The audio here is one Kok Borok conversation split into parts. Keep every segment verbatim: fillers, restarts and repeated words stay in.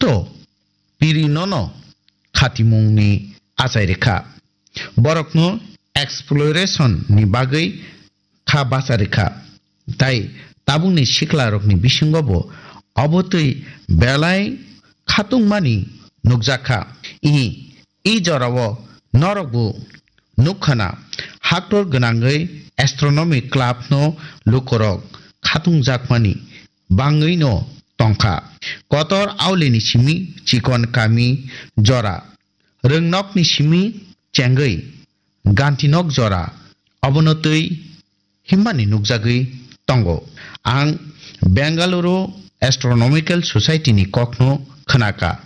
Poto piri nono khatimungni achai rikha. Borokno exploration ni bagwi kha bacha rikha. Tai tabukni siklarokni bisingo bo obotwi belai khatungmani nukjakha. I, i jorao norokbo nukkhana haktor gwnangwi astronomy club no lukorok khatungjakmani bangwino tongkha. Kotor aulini simi chikon kami jora, rwngnokni simi chengwi gantinok jora, obono twi himmani nukjagwi tongo. Ang Bengaluru Astronomical Society ni kokno khnaka.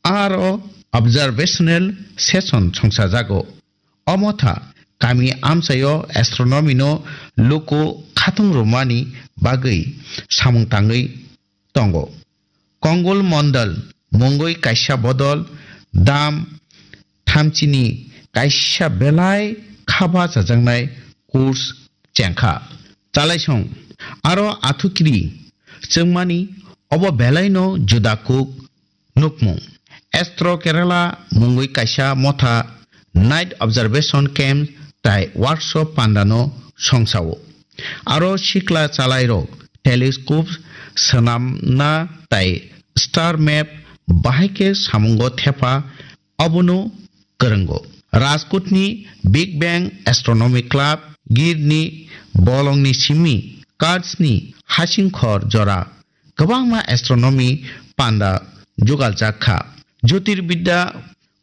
Aro observational session songsajago. O motha kami amchaio astronomy no luku khatung rwmani bagwi samung tangwi tongo. Kongul Mondal mungwi kaisa bodol dam thamchini kaisa belai khaba chajaknai course chengkha. Chalaisong aro athukiri chwngmani obo belaino juda kuk nukmung. Astro Kerala mungwi kaisa motha night observation camp tai workshop pandano songsao. Aro sikla chalairok telescope swnamna tai star map bahai khe samungo thepa obono kwrwngo. Rajkotni Big Bang Astronomy Club, Girni bolongni simi Kurdsni hasingkhor jora kwbangma astronomy panda jugaljak kha. Jyotirbidya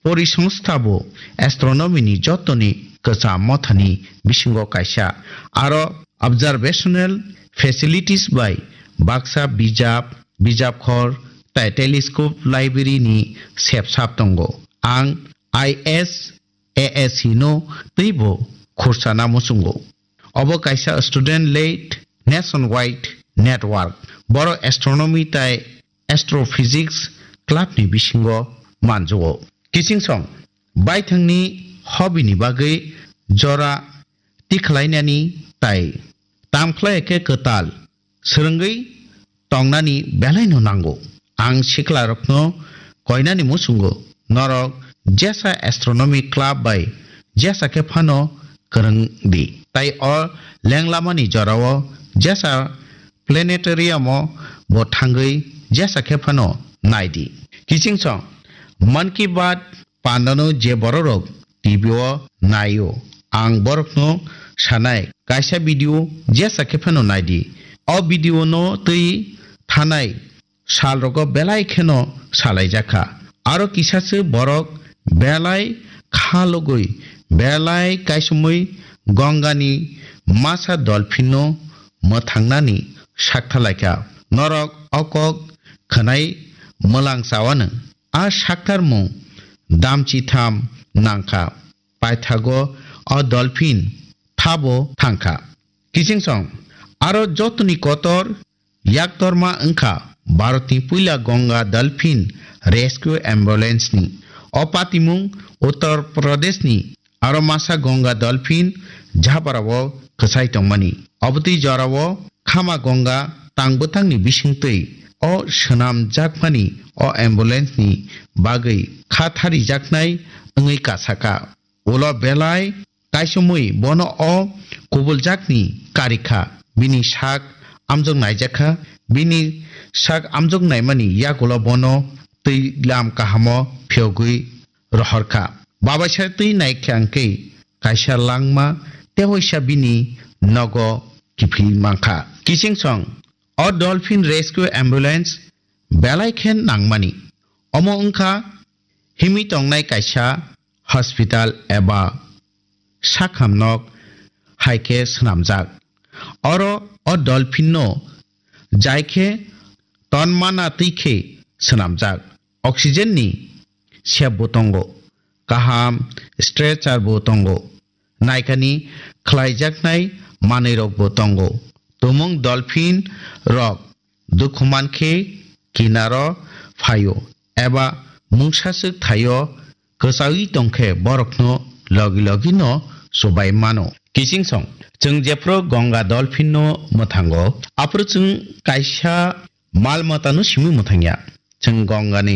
Porisongstha bo astronomy ni jotoni kwcham mothani bisingo kaisa. Aro observational facilities bai baksa bijap, bijap khor tai telescope library ni sepsap tongo. Ang I S A S C no twibo khursana muchungo. Obo kaisa student led nationwide network. Boro astronomy tai astrophysics club ni bisingo manjugo. Kiching song, baithangni hobby ni bagwi jora tikhlainani tai tamkhlai khe kwtal swrwngwi tongnani belaino nango. Ang siklarokno koinani muchungo, norok jesa astronomy club bai jesa khe phano kwrwng di. Tai o lenglamani jorao jesa planetarium o bo thangwi jesa khe phano nai di. Kiching song, Mann Ki Baat pandano je bororok T V o naio, ang borokno sanai, kaisa video jesa khe phano nai di. O video no twi thanai salrogo belai kheno salaijakha. Aro kisaswk borok belai kha logwi, belai kaisomwi Gongani masa dolphinno mwthangnani sakthalaikha. Norok o kok khwnai mwlang chawano. A saktarmung damchitham nangkha. Paithago o dolphin thabo thangkha. Kiching song, aro jotoni kotor yaktorma wngkha Bharatni puila Ganga Dolphin Rescue Ambulance ni. O patimung Uttar Pradesh ni aro masa Ganga Dolphin jhabarao kwchai tongmani. Obotwi jorao khama Ganga tang bwtangni bisingtwi o swnamjakmani o ambulance ni bagwi kha tharijaknai wngwi kasaka. Ulo belai kaisomwi bono o kubuljakni karikha, bini sak amjok naijakha, bini sak amjok naimani yagulo bono twi lam kahamo phiyogwi rohorkha. Babaisa twi naikha hwnkhe kaisa langma tewaisa bini nogo kiphil mankha. Kiching song, o Dolphin Rescue Ambulance belai khe nangmani. Omo wngkha himwi tongnai kaisa hospital eba sakhamnok hai khe swnamjak. Oro o dolphin no jai khe tonmana twi khe swnamjak. Oxygen ni sep bo tongo, kaham stretcher bo tongo, naikani khlaijaknai manwirok bo tongo. Tumung dolphin rok dukhu mankhe kinaro phaio eba mungsaswk thaio kwchaui tongkhe borokno logi logi no chubai mano. Kiching song, chwng jephru Ganga dolphin no mwthango, aphuru chwng kaisa mal matano simi mwthangya. Chwng Ganga ni